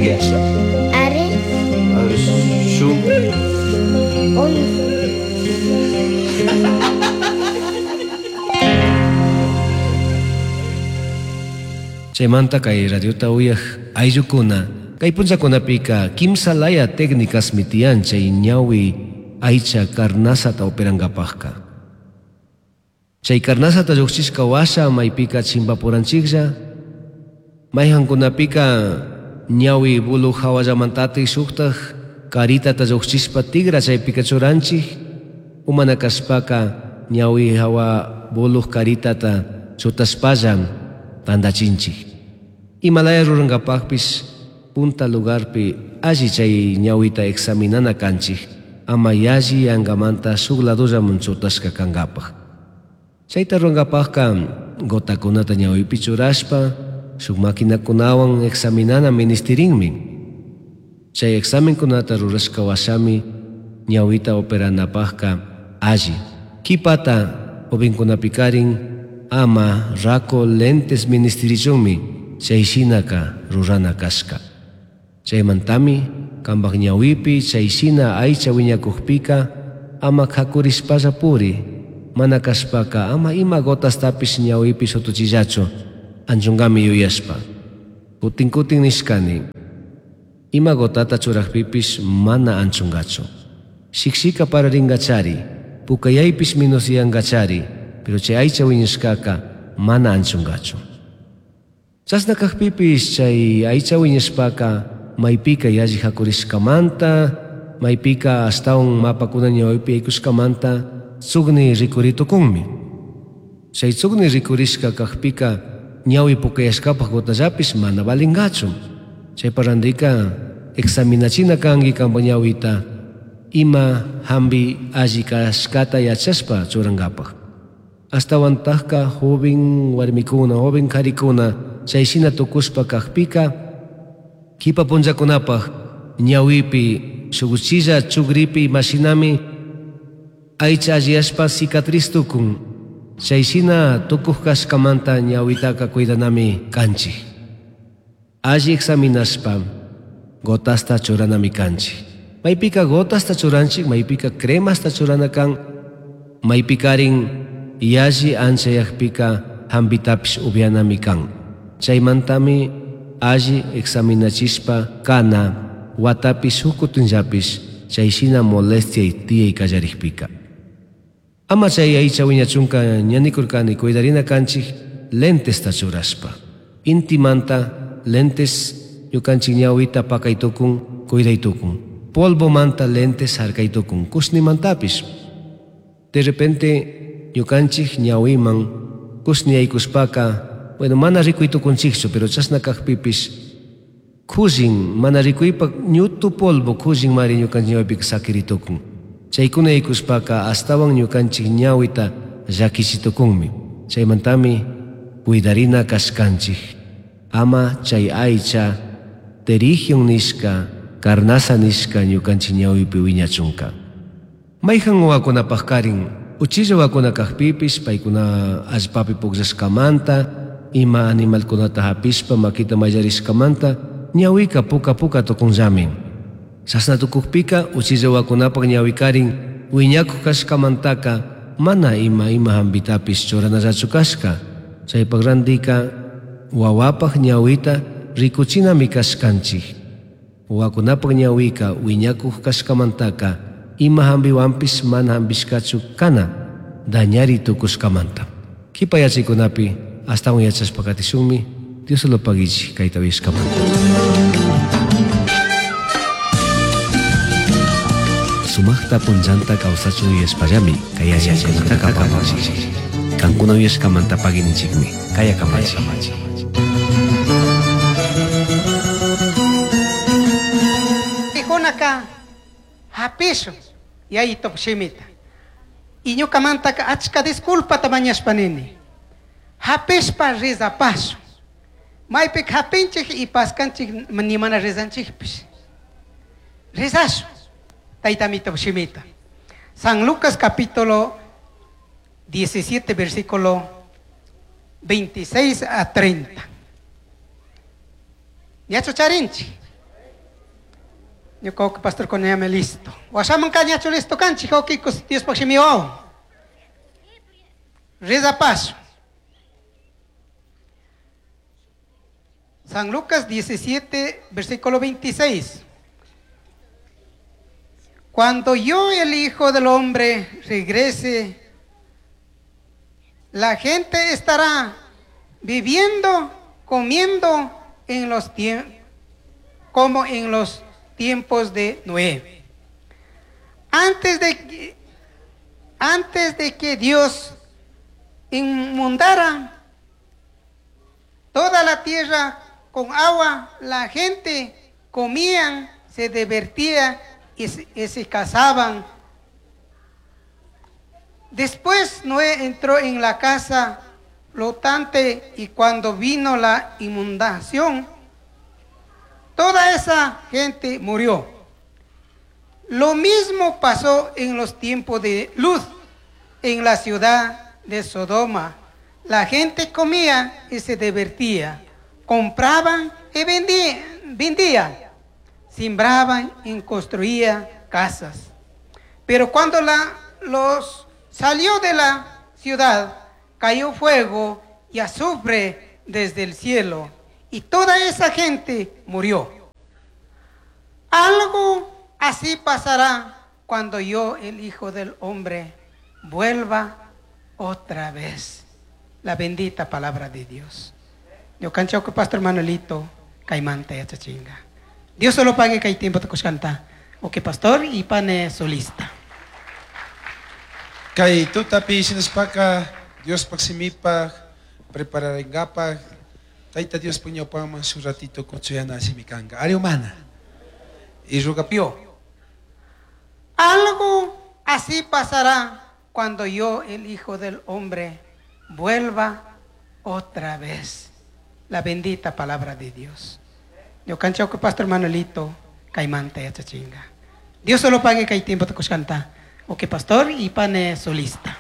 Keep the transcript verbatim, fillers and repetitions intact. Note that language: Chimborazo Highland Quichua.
Ringui? Ari. A ver, shu. Uno. Chaymanta kay radiota uyaj ayllukuna kay punllakunapika kimsa laya técnicasmi tiyan chay ñawi aycha carnazata operankapajka. Chay carnazata lluqchishka washa maypika chimpapuranchiklla, mayhankunapika ñawi bulu hawallamantatik shuktaj karitata lluqchishpa tigra chaypika churanchik, umana kashpaka ñawi hawa buluj karitata chutashpalla tantachinchik. Imalaya rurankapajpish punta lugarpi alli chay ñawita examinana kanchik, ama yalli yankamanta shuk ladollaman chutashka kankapaj. Chayta rurankapajka gotakunata ñawipi churashpa shuk maquinakunawan examinana ministirinmi. Chay examenkunata rurashka washami ñawita operanapajka alli. Kipata jovenkunapikarin ama rako lentes ministirichunmi chay shinaka rurana kashka. Chaymantami kambaj ñawipi chay shina aycha wiñakujpika ama kakurishpalla puri, mana kashpaka ama ima gotastapish ñawipi shutuchillachu anchunkami yuyashpa. Kutin kutin nishkani, ima gotata churajpipish mana anchunkachu. Shikshika pararingachari, pukayaypish minusyankachari, pero chay aycha wiñashkaka mana anchunkachu. Chashna kajpipish chay aycha wiñashpaka maypika yalli hakurishkamanta, maypika ashtawan mapakuna ñawipi yaykushkamanta tsukni rikuritukunmi. Chay tsukni rikurishka kajpika ñawi pukayashkapaj gotallapish mana valinkachu. Chaypa randika examinachina kanki kampa ñawita ima hampi alli kashkata yachashpa churankapaj. Ashtawantajka joven warmikuna, joven karikuna chay shina tukushpa kajpika kipa punllakunapaj ñawipi shuk uchilla chukripi imashinami aycha alliyashpa cicatriz tukun. Chay shina tukuj kashkamanta ñawitaka cuidanami kanchik. Alli examinashpa gotasta churanami kanchik. Maypika gotasta churanchik, maypika cremasta churana kan, maypikarin yalli anchayajpika hampitapish upyanami kan. Chaymantami alli examinachishpa kana watapi shuk kutinllapish chay shina molestia tiyay kallarikpika. Ama chay aycha wiñachunka ñanikurkani cuidarina kanchik lentesta churashpa. Intimanta lentes ñukanchik ñawita pakaytukun, cuidaytukun. Polvomanta lentes harkaytukun, kushnimantapish. De repente ñukanchik ñawiman kushni yaykushpaka, bueno, mana rikuytukunchikchu, pero chashna kajpipish kullin mana rikuypak ñutu polvo kullin mari ñukanchik ñawipika sakiritukun. Chaykuna yaykushpaka ashtawan ñukanchik ñawita llakichitukunmi. Chaymantami cuidarina kashkanchik. Ama chay aycha pterigion nishka, carnaza nishka ñukanchik ñawipi wiñachunka. Mayhan wawakunapaj karin, uchilla wawakuna kajpipish paykuna allpapi pukllashkamanta, ima animalkunata hapishpa makita mayllarishkamanta ñawika puka puka tukunllami. Chashna tukukpika uchilla wawakunapaj ñawikarin wiñakuj kashkamantaka mana ima ima hampitapish churanallachu kashka. Chaypak randika wawapaj ñawita rikuchinami kashkanchik. Wawakunapaj ñawika wiñakuj kashkamantaka ima hampiwanpish mana hampishkachu kana dañari tukushkamanta. Kipa yachaykunapi ashtawan yachashpa katishunmi. Dios lo paguichi kayta uyashkamanta. Sumaqta punllanta kawsachun yuyashpallami kay yachaykunata kapamanchik. Kankuna uyashkamanta paguininchikmi. Kaya kamachi. Tijonaka hapishu yayito shimita. Y ñukamantaka achka disculpata mañashpa nini. Hapishpa rizapashu. Maypik hapinchik y paskanchik nimana rizanchikpish. Rizashu. Taytamito shimita. San Lucas capítulo diecisiete, versículo veintiséis a treinta. Ñachu charinchi. Ñuka pastor kunayami listo. Washaman kañachu listo kanchik, wawqikus Diospaq shimiwawan. Reza paso. San Lucas diecisiete, versículo veintiséis. Cuando yo, el Hijo del Hombre, regrese, la gente estará viviendo, comiendo en los tiempos, como en los tiempos de Noé. Antes de que, antes de que Dios inundara toda la tierra con agua, la gente comían, se divertía y se, y se casaban. Después Noé entró en la casa flotante y cuando vino la inundación, toda esa gente murió. Lo mismo pasó en los tiempos de Luz, en la ciudad de Sodoma. La gente comía y se divertía, compraban y vendían, vendían, sembraban y construían casas. Pero cuando la, los salió de la ciudad, cayó fuego y azufre desde el cielo, y toda esa gente murió. Algo así pasará cuando yo, el Hijo del Hombre, vuelva otra vez. La bendita palabra de Dios. Yo cancho que Pastor Manuelito caimanta ya chachinga. Dios solo pague que hay tiempo te canta. O que pastor y pane solista. Kay tutapi sinaspaka Dios pagsimipa prepararingapa Taita Dios puñopaman su ratito kutsuyana simikanga. Ari humana. Y rugapio. Algo así pasará cuando yo, el Hijo del Hombre, vuelva otra vez. La bendita palabra de Dios. Yo cancho que Pastor Manuelito caimanta ya chachinga. Dios solo pague que hay tiempo te canta. O que pastor y pane solista.